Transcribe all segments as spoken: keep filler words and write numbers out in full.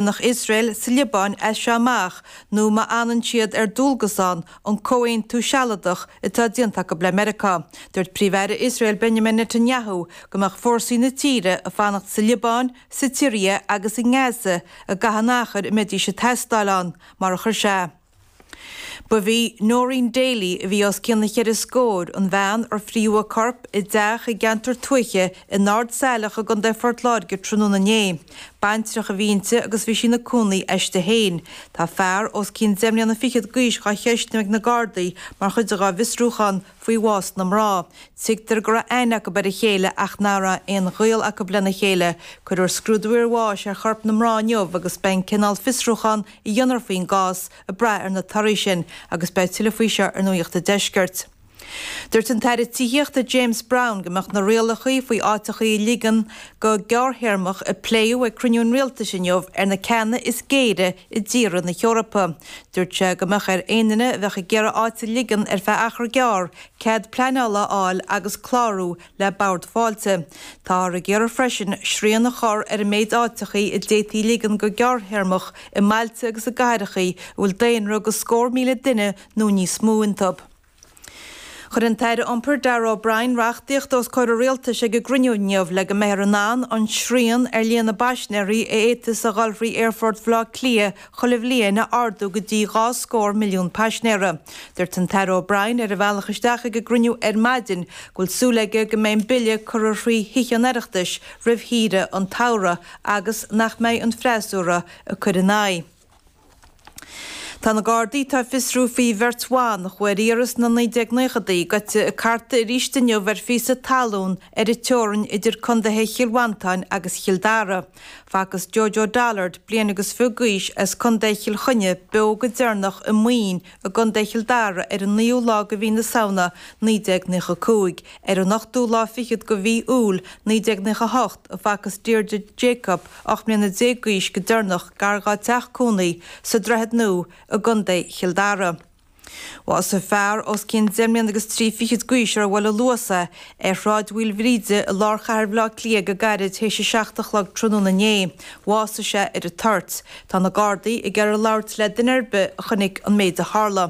Nach Iosrael sa Liobáin as seo amach nó má fhanann siad ar dualgas ann an comhaontú sealadach atá déanta acu le Meiriceá. Dúirt Príomh-Aire Iosrael Benjamin Netanyahu go mbeadh fórsaí na tíre ag fanacht sa Liobáin, sa tSiria agus i nGaza i gcaitheamh an achair a mbeidís ag teastáil ann, mar a chuir sé. Ba í Noreen Daly a bhí os cionn na cheithre scór an bhean ar fríodh a corp i dteach i gceantar tuaithe in Ard Saileach i gContae Phort Láirge tráthnóna inné. Baintreach a bhí inti agus bhí sí ina cónaí aisti féin. Tá fear os cionn deich mbliana fichead d'aois dhá cheistiú ag na Gardaí mar chuid dhá bhfiosrúchán faoi bhás na mná. Tuigtear go raibh aithne acu ar a chéile ach nach raibh aon ghaol acu lena chéile. Cuirfear scrúdú iarbháis ar chorp na mná inniu agus beidh an cineál fiosrúchán a dhéanfar faoin gcás ag brath ar na torthaí sin agus beidh tuilleadh faoi seo ar Nuacht an Deiscirt. Dúirt an tAire Tithíochta James Browne go mbeadh na rialacha faoi áiteachaí a ligean go gearrthéarmach a pléadh ag cruinniú an rialtais inniu ar na ceanna is géire i dtíortha na hEorpa. Dúirt sé go mbeadh ar aon duine a bheadh ag iarraidh áit a ligean ar feadh achar gearr cead pleanála a fháil agus clárú le Bord Fáilte. Táthar ag iarraidh freisin srian a chur ar an méid áiteachaí a d'fhéadfaí ligean go gearrthéarmach i mbailte agus i gcathrachaí a bhfuil daonra go scór míle duine nó níos mó iontu. Chuir an tAire Iompair Darragh O'Brien reachtaíocht os comhair an rialtais ag an gcruinniú inniu le go mbeifear in ann an srian ar líon na bpaisinéirí a fhéadfas a dhul thrí Aerfort Bhaile Átha Cliath chuile bhliain a ardú go dtí dhá scór milliún paisinéara. Dúirt an tAire O'Brien ar a bhealach isteach ag an gcruinniú ar maidin go bhfuil súil aige go mbeidh an bille curtha thrí Thithe an Oireachtais roimh shaoire an tsamhraidh agus nach mbeidh an freasúra ag cur ina aghaidh. Tá na Gardaí atá ag fiosrú faoi bheirt bhan a chuaigh ar iarraidh sna naoi déag naochadaí goite ag cartadh arís inniu ar phíosa talún ar an teorainn idir contaetha Chill Mhantáin agus Chill Dara. Facthas Jojo Dollard, bliain agus fiche d'aois as Contae Chill Chainnigh beo go deireanach i Maoin i gContae Chill Dara ar an naoú lá de mhí na Samhna naoi déag naocha cúig. Ar an ochtú lá fichead de mhí Iúil naoi déag naocha hocht a facthas Deirdre Jacob, ocht mbliana déag d'aois go deireanach gar dá teach cónaí sa Droichead Nua i gContae Chill Dara. Bhásaigh fear os cionn deich mbliana agus trí fichid d'aois ar bhuail a luas é ar Shráid Mhaoilbhríde i lár chathair Bhaile Átha Cliath go gairid théis a seacht a chlog tráthnóna inné. Bhásaigh sé ar an toirt. Tá na Gardaí ag iarraidh labhairt le duine ar bith a chonaic an méid a tharla.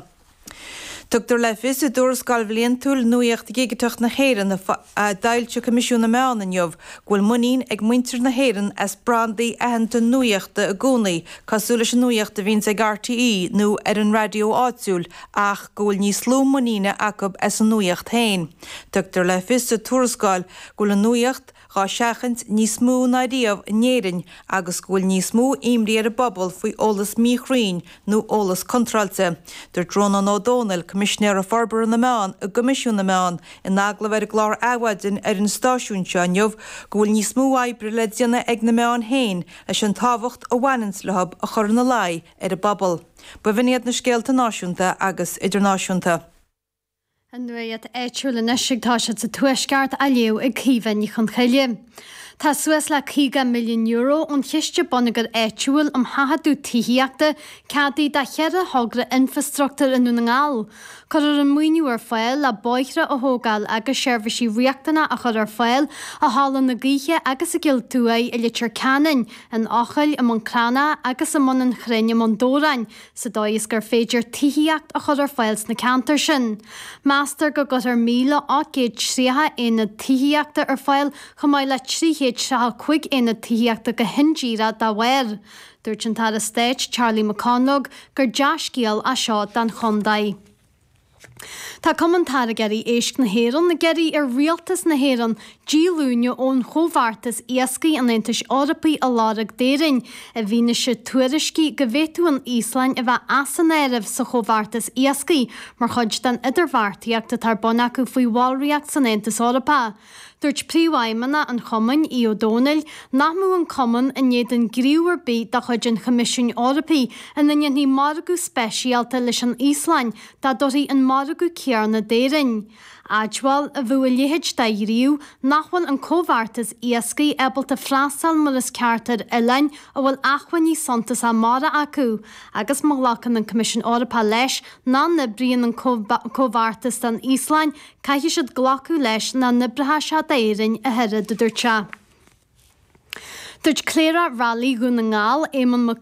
Tugtar le fios i dtuarascáil bhliantúil Nuaíocht Dhigiteach na hÉireann a d'fhoilsigh Coimisiún na Meán inniu go bhfuil muinín ag muintir na hÉireann as brandaí aitheanta nuaíochta i gcónaí, cosúil leis an nuaíocht a bhíonns ag RTÉ nó ar an raidió áitiúil, ach go bhfuil níos lú muiníne acu as an nuaíocht féin. Tugtar le fios sa tuarascáil go bhfuil an nuaíocht dhá seachaint níos mó ná riamh in Éirinn agus go bhfuil níos mó imní ar an bpobal faoi eolas míchruinn nó eolas contráilte. Dúirt Rónán Ó Domhnaill, Coimisinéir Forbartha na Meán i gCoimisiún na Meán, in agallamh ar an gclár Adhmhaidin ar an stáisiún seo inniu go bhfuil níos mó oibre le déanamh ag na meáin féin leis an tábhacht a bhaineanns leo a chur ina luí ar an bpobal. B'in iad na scéalta náisiúnta agus idirnáisiúnta. An nuacht áitiúil anois ag toiseacht sa Tuaisceart á léamh ag Caoimhe Ní Chonchoille. Tá suas le caoga milliún euro ón Chiste Bonneagair Áitiúil um Sheachadadh Tithíochta ceadaithe do cheithre thogra infreastruchtúir i nDún na nGall. Cuirfear an maoiniú ar fáil le bóithre a thógáil agus seirbhísí riachtanacha a chur ar fáil i Halla na Gaoithe agus i gCill Tuaidh i Leitir Ceanainn, in Eochaill i mBun Cranncha agus i mBun an Chrainn i mBun Dobhráin, sa dóigh is gur féidir tithíocht a chur ar fáil sna ceantair sin. Meastar go gcuirfear míle ocht gcéad tríocha aonad tithíochta ar fáil chomh maith le trí chéad tríocha cúig aonad tithíochta go hindíreach dá bharr. Dúirt an tAire Stáit Charlie McConalogue gur dea-scéal é seo don chontae. Tá Cumann Táirgeoirí Éisc na hÉireann ag iarraidh ar Rialtas na hÉireann díolúine ón Chomhbheartas Iascaigh an Aontais Eorpaigh a lorg d'Éirinn, i bhfianaise tuairiscí go bhféadfadh an Íoslainn a bheith as an áireamh sa Chomhbheartas Iascaigh mar chuid den idirbheartaíocht atá ar bun acu faoi bhallraíocht san Aontas Eorpach. Dúirt Príomhfheidhmeannach an Chumainn, Aodh Ó Domhnaill, nach mbeadh an Cumann in éadan gníomh ar bith de chuid an Choimisiúin Eorpaigh ina ndéanfaí margadh speisialta leis an Íoslainn dá dtabharfaí an margadh céanna d'Éirinn. Admháil a bheadh a leithéid de ghníomh nach bhfuil an comhbheartas iascaigh ábalta freastal mar is ceart ar oileáin a bhfuil acmhainní suntasacha mara acu agus má ghlacann an Coimisiún Eorpach leis nach n-oibríonn an comhbheartas don Íoslainn, caithfidh siad glacadh leis nach n-oibreoidh sé d'Éirinn a thuilleadh, a dúirt sé. Dúirt Cléireach Railí Dhún na nGall, Éamonn Mac